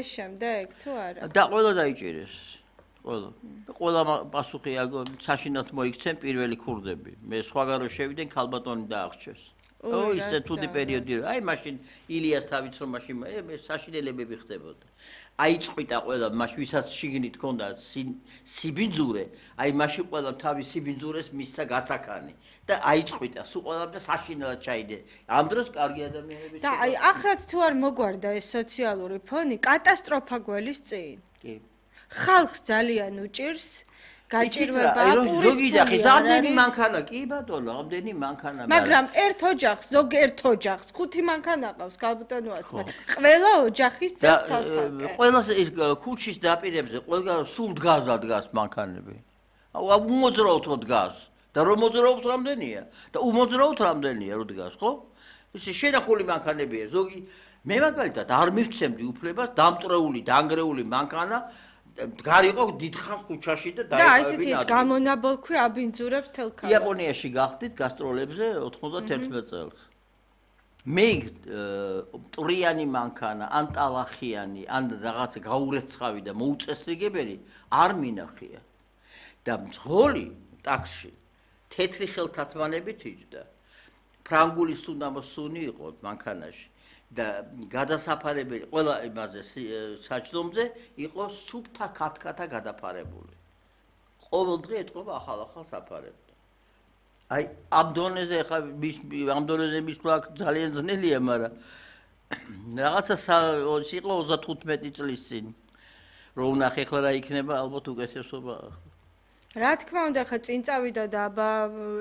ეს შემდეგ თუ არა? და ყველა დაიჭირეს. ყველა პასუხი საშინelt მოიქცენ პირველი ქურდები. მე სხვაგან რო შევიდნენ ქალბატონი დააღჭეს. ისე თუდი პერიოდი აი მაშინ ილიას თავით რომ მაშინ საშინელებები ხდებოდა. აიწყვიტა ყველა მაშინ ვისაც შიგნით ჰქონდა სიბინძურე, აი მაშინ ყველა თავის სიბინძურეს მისცა გასაქანი და აიწყვიტა, სულ ყველამ და საშინელად ჩაიდე. ამ დროს კარგი ადამიანები და აი ახრად თუ არ მოგვარდა ეს სოციალური ფონი, კატასტროფა გველის წინ. კი. ხალხს ძალიან უჭირს გაჭირვება პურის ამდენი მანქანა კი ბატონო, ამდენი მანქანა. მაგრამ ერთ ოჯახს, ზოგიერთ ოჯახს 5 მანქანა ყავს ქალბატონო ასმა. ყველა ოჯახის წევ-ცალ-ცალკე. ყველა ქუჩის დაპირებზე ყველგან სულ დგას მანქანები. უმოძრაობთ დგას. და რომ მოძრაობს რამდენია? და უმოძრაობთ რამდენია რო დგას, ხო? ისე შენახული მანქანებია. ზოგი მე მაგალითად არ მივცემდი უფლებას დამტრეული, დანგრეული მანქანა გარიყო დიდხანს ქუჩაში და ესეთი ის გამონაბოლქვი აბინძურებს თელ ქალაქს. იაპონიაში გახდით გასტროლებზე 91 წელს. მე მტრიანი მანქანა, ან ტალახიანი, ან რაღაცა გაურეცხავი და მოუწესრიგებელი არ მინახია. და მძღოლი ტაქსში თეთრი ხელთათმანებით იჯდა. ფრანგული სუნამოსუნი იყო მანქანაში. და გადასაფარებელი ყველა იმაზე საჭდომზე იყო სუფთა ქათქათა გადაფარებული. ყოველ დღე ეთყობა ახალ საფარებდა. აი ამ დონეზე ხა ამ დონეზე მისვლა ძალიან ძნელია, მაგრამ რაღაცა იყო 35 წლის წინ. რო ვნახე ხლა რა იქნება, ალბათ უკეთესობა. რა თქმა უნდა, ხა წინ წავიდა და აბა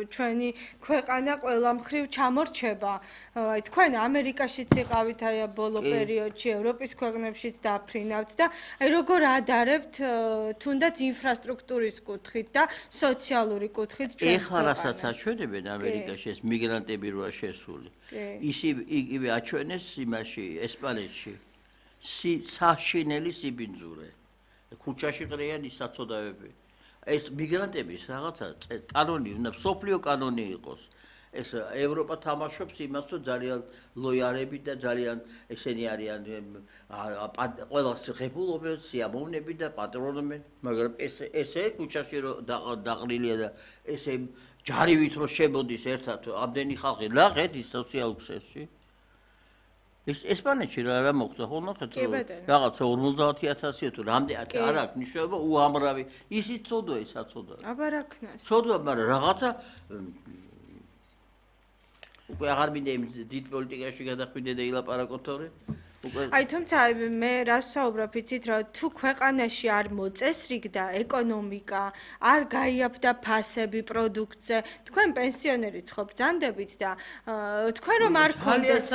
ჩვენი ქვეყანა ყველა მხრივ ჩამორჩება. აი თქვენ ამერიკაშიც იყავით აი ბოლო პერიოდში, ევროპის ქვეყნებშიც დაფრინავთ და აი როგორ ადარებთ თუნდაც ინფრასტრუქტურის კუთხით და სოციალური კუთხით ჩვენს ეხლა რასაც აჩვენებენ ამერიკაში ეს მიგრანტები როა შესული. იგივე აჩვენეს იმაში ესპანეთში. საშინელი სიბინძურე. ქუჩაში ყრიან ის საცოდავები. ეს მიგრანტების რაღაცა კანონი უნდა სოფლიო კანონი იყოს. ეს ევროპა თამაშობს იმას, რომ ძალიან ლოიალები და ძალიან ესენი არიან ყველას ღებულობენ, სიამოვნები და პატრონობენ, მაგრამ ესე ქუჩაში რომ დაყრილია და ესე ჯარივით რომ შემოდის ერთად ამდენი ხალხი ნახეთ ის სოციალურ ქსელში. ესპანეთში რა მოხდა ხო ნახეთ რაღაცა 50000 თუ რამდენი არ აქვს ნიშნულობა უამრავი ისიც ცოდვა ის აცოდა აბა რა ქნას ცოდვა მაგრამ რაღაცა უკვე აღარ მინდა იმ დიდ პოლიტიკაში გადახვიდე და ილაპარაკოთორე აი თუმცა მე რას ვსაუბრობ იცით რომ თუ ქვეყანაში არ მოწესრიგდა ეკონომიკა არ გაიაფდა ფასები პროდუქტზე თქვენ პენსიონერიც ხო ბრძანდებით და თქვენ რომ არ გქონდეს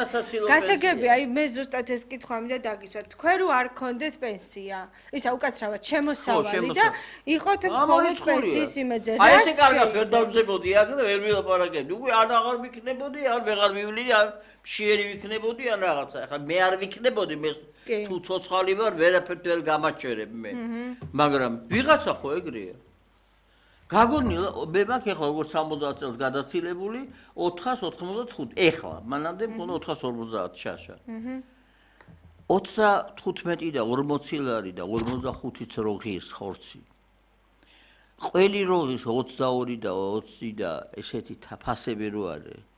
გასაგები აი მე ზუსტად ეს კითხვა მინდა დაგისვა თქვენ რომ არ გქონდეთ პენსია ისა უკაცრავად შემოსავალი და იყოთ მხოლოდ პენსიის იმედზე აი ესე კარგად ვერ დავზებოდი აქ და ვერ ვილაპარაკებდი უკვე აღარ ვიქნებოდი ან ვეღარ მივლინი ან მშიერი ვიქნებოდი ან რაღაცა ახლა მე არ ვიქნებოდი მე თუ ცოცხალი ვარ ვერაფერთ ვერ გამაჩერებ მე მაგრამ ვიღაცა ხო ეგრეა გაგონილა მე მაქვს ახლა როგორც 70 წელს გადაცილებული 495 ეხლა მანამდე მქონდა 450 შაშა 35 და 40 ლარი და 45-იც რო ღირს ხორცი ყველი როღის 22 და 20 და ესეთი ფასები რო არის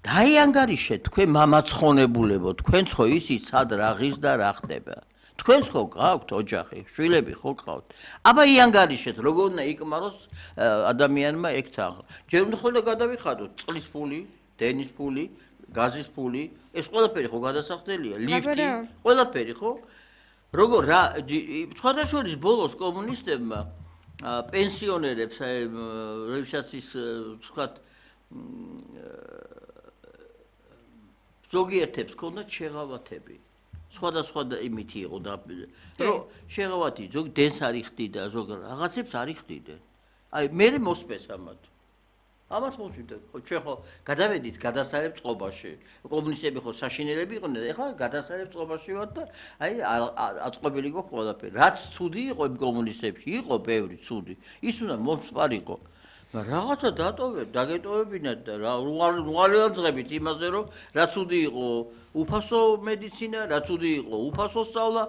დაიანგარიშეთ თქვენ მამაცხონებულებო თქვენც ხო იცით სად რა ღირს და რა ხდება თქვენც ხო გაქვთ ოჯახი შვილები ხო გყავთ აბა იანგარიშეთ როგორ უნდა იკმაროს ადამიანმა ეგ თაღ ჯერ უნდა ხოლმე გადავიხადოთ წყლის ფული დენის ფული გაზის ფული ეს ყველაფერი ხო გადასახდელია ლიფტი ყველაფერი ხო როგორ რა სხვადასხვა ბოლოს კომუნისტებმა პენსიონერებს როდესაც ის ვთქვათ ზოგიერთებს ქონდათ შეღავათები. სხვადასხვა იმითი იყო და რომ შეღავათი ზოგ დენს არ იხდიდა, ზოგ რაღაცებს არ იხდიდა. აი მე მოსპეს ამათ. ამათ მოსვიდა. ხო ჩვენ ხო გადავედით გადასარებ წყობაში. კომუნისტები ხო საშინელები იყვნენ, ეხლა გადასარებ წყობაში ვართ და აი აწყობილი გვაქვს ყველაფერი. რაც ცუდი იყო იმ კომუნისტებში, იყო ბევრი ცუდი. ის უნდა მოსპარიყო. რაღაცა დაგეტოვებინათ და რა უღალიანძღებით იმაზე რომ რაც უდი იყო უფასო მედიცინა, რაც უდი იყო უფასო სწავლა